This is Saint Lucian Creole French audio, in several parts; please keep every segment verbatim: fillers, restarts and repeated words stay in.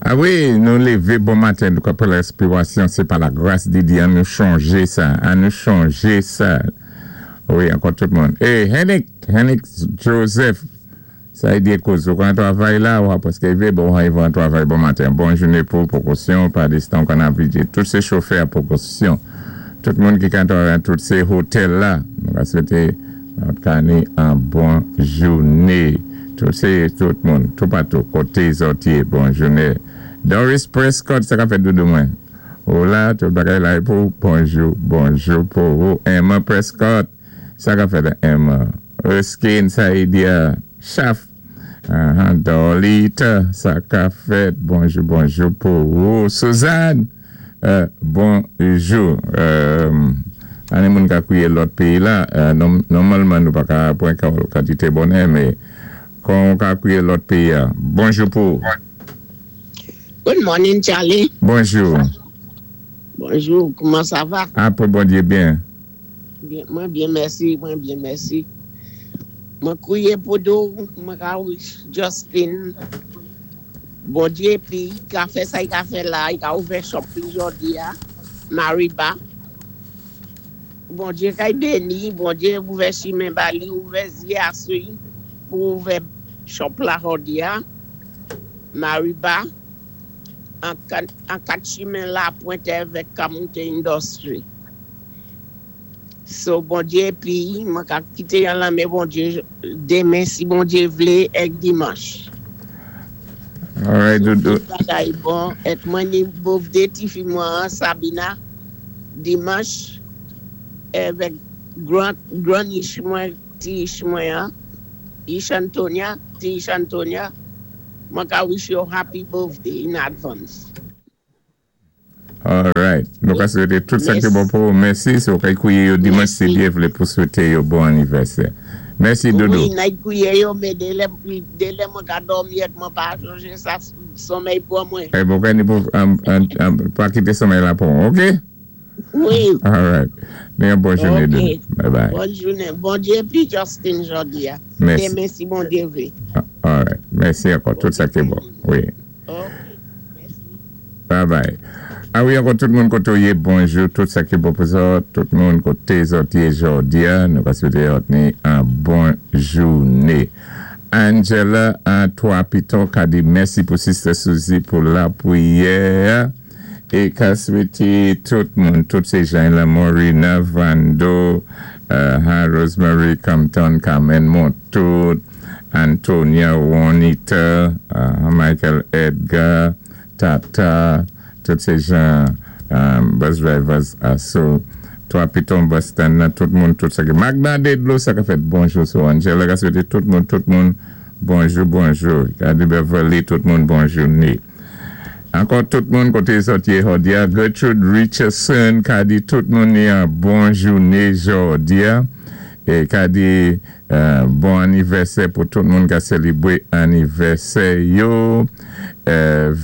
Ah wi, nou lévé bon maten, nou ka pran lespirasyon, sé pa lagras di Dye, an nou chanjé sa, an nou chanjé sa. Wi, ankò tout moun. Eh, Henrik, Henrik Joseph, sa i di kòz, ou kan travay la, ou paské vé, bon, i va travay bon maten. Bon jouné pou pwékosyon, pa distan kan ap vidjé. Tout sé chofè pwékosyon. Tout moun ki kan travay, tout sé otèl la, nou ka swété ka ni an bon jouné. Tout sé tout moun, tout patou, koté zòt yé, bon jouné. Doris Prescott, sa ka fèt doudou mwen. Ou la, tout bagay la pou bonjou, bonjou pou ou. Emma Prescott, sa ka fèt Emma. Erskine Saïdia, Chaf. Uh-huh. Dolita, sa ka fèt, bonjou, bonjou pou ou. Suzanne, euh, bonjou. Euh, Ane moun ka kouwé lòt péyi la, euh, nòmalman nou pa ka pwan kantité bonè, mé kon ka kouwé lòt péyi a. Bonjou pou ou. Good morning, Charlie. Bonjou. Bonjou, kouman sa va? Apwé Bondyé byen. Byen, mwen byen, mèsi, mwen byen, mèsi. Mwen kouwé pou dou, mwen ka wish Justin. Bondyé pi, ka fè sa i ka fè la, i ka ouvè shop pi jòdi a, Mariba. Bondyé kay béni, Bondyé ouvè chimen ba li, ouvè zyé asou pou ouvè shop la jòdi a, Mariba. An kat chimen la pwentè vèk Kamouté Industry. So, Bondyé pi, mwen ka kité yon lan men Bondyé démen si Bondyé vlé èk dimanch. Alright, doudou. Tout bagay bon, èk mwen ni birthday ti fi mwen Sabina, dimanch, èvèk gran, gran ich mwen, ti ich mwen, ich Antonia, ti ich Antonia, mwen ka wish you happy birthday in advance. Alright. Nou ka swété tout sa ki bon pou ou. Mèsi, si ou kay kouwé yo dimanch si Dye vlé pou swété yo bon anivèsè. Mèsi, doudou. Wi, nay kouwé yo, mé dé lè, dé lè mwen ka dòmi èk mwen pa chonjé sa somèy pou mwen. Eh bon, kay ni pou, pa kité somèy la pou, ok? Wi. Alright. Ni yon bon jouné, Ok. doudou. Bye bye. Bon jouné. Bondyé pi Justin jòdi a. Mèsi. Démen si Bondyé vlé. Alright. Mèsi ankò. Tout sa ki bon. Wi. Ok. Mèsi. Bye bye. Ah wi, ankò tout moun koté ou yé, bonjou, tout sa ki bon pou zòt, tout moun koté zòt yé jòdi a, nou ka swété zòt ni an bon jouné. Angela, an Twa Piton, ka di mèsi pou Sister Suzy pou lapwiyè, é ka swété tout moun, tout sé jan la, Morina, Vando, uh, Rosemary, Compton, Carmen Montout, Antonia, Juanita, uh, Michael Edgar, Tata, tout sé jan um, bus drivers aso Twa Piton bus stand nan, tout moun, tout sa ki Magda Dedlo, sa ka fèt bonjou. So Angela ka swété tout moun, tout moun bonjou, bonjou. Kadi Beverly, tout moun bonjou ni. Ankò tout moun koté zòt yé jòdi a. Gertrude Richardson ka di tout moun ni an bon jouné jòdi a. É ka di euh, bon anivèsè pou tout moun ka sélébwé anivèsè yo.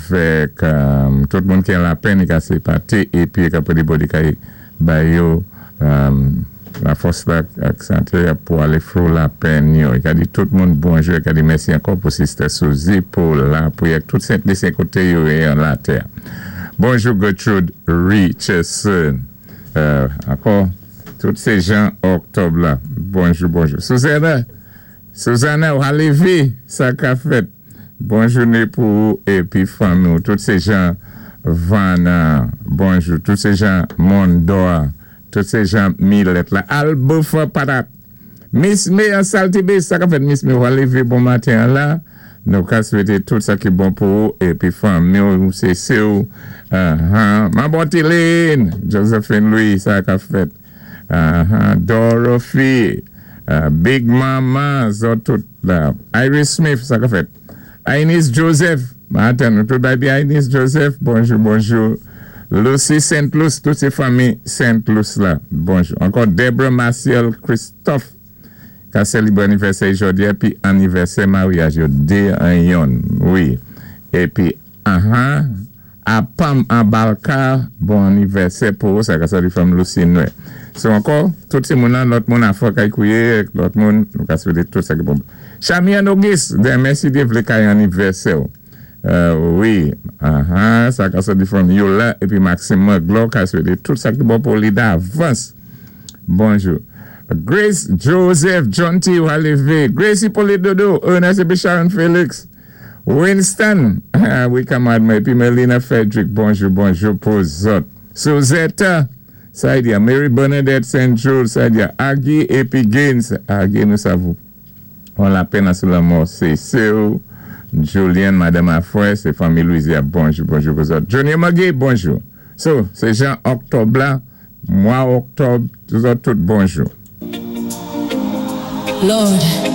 Vèk um, tout moun ki an lapenn ka sé paté épi ka pwé di Bondye ka bay yo um, la fòs la ak santé pou alé through lapenn yo. I ka di tout moun bonjou, i ka di mèsi ankò pou Sister Suzy pou lapwiyè tout Sent Lisyen koté yo yé an latè. Bonjou Gertrude Richardson. Euh, ankò tout sé jan òktòb la. Bonjou, bonjou. Suzanna, Suzanna, ou lévé, sa ka fèt. Bon jouné pou ou épi fanmi ou. Tout sé jan Vana, bonjou. Tout sé jan Mondor, tout sé jan Millet la. Alboufa patat. Miss May an Saltibé, sa ka fèt Miss May, ou lévé bon maten la. Nou ka swété tout sa ki bon pou ou épi fanmi ou, sé sé ou. Uh-huh. Ma Botiline, Josephine Louis, sa ka fèt. Uh-huh. Dorothy, uh, Big Mama, zòt tout la. Iris Smith, sa ka fèt. Ainis Joseph, maten, nou tout bay Ainis Joseph, bonjou, bonjou. Lucy Saint Louis, tout sé fanmi Saint Louis la, bonjou. Ankò Deborah Martial Christophe, ka sélébwé anivèsè jòdi a, pi anivèsè maryaj yo, dé an yonn, wi. Épi, aha, Apam Abalka, bon anivèsè pou sa ka sa di fanm Lucy Noé. So ankò, tout sé moun nan, lòt moun a fò kay kouwé, lòt moun, nou ka swété tout sa ki bon. Chamian Auguste, den mèsi Dye vlé kay anivèsè ou. Euh, wi, uh-huh, sa ka soti from Yola épi Maxime Magloire ka swété tout sa ki bon pou li davans. Bonjou. Grace Joseph John T. Walevé, Gracie Polidodo, Ernest épi Sharon Félix, Winston, wi kanmad mwen, épi Melina Frederick, bonjou, bonjou pou zòt. Suzette, sa di Mary Bernadette Saint Jules, sa di Aggie épi Gaines, Aggie nou savou. On lapenn sou lanmò, sé sè Julian, Madame Afoué, sé fanmi Louisia, bonjou, bonjou pou zòt. Junior Magui, bonjou. So, sé jan òktòb la, mwa òktòb, tout tout bonjou. Lord,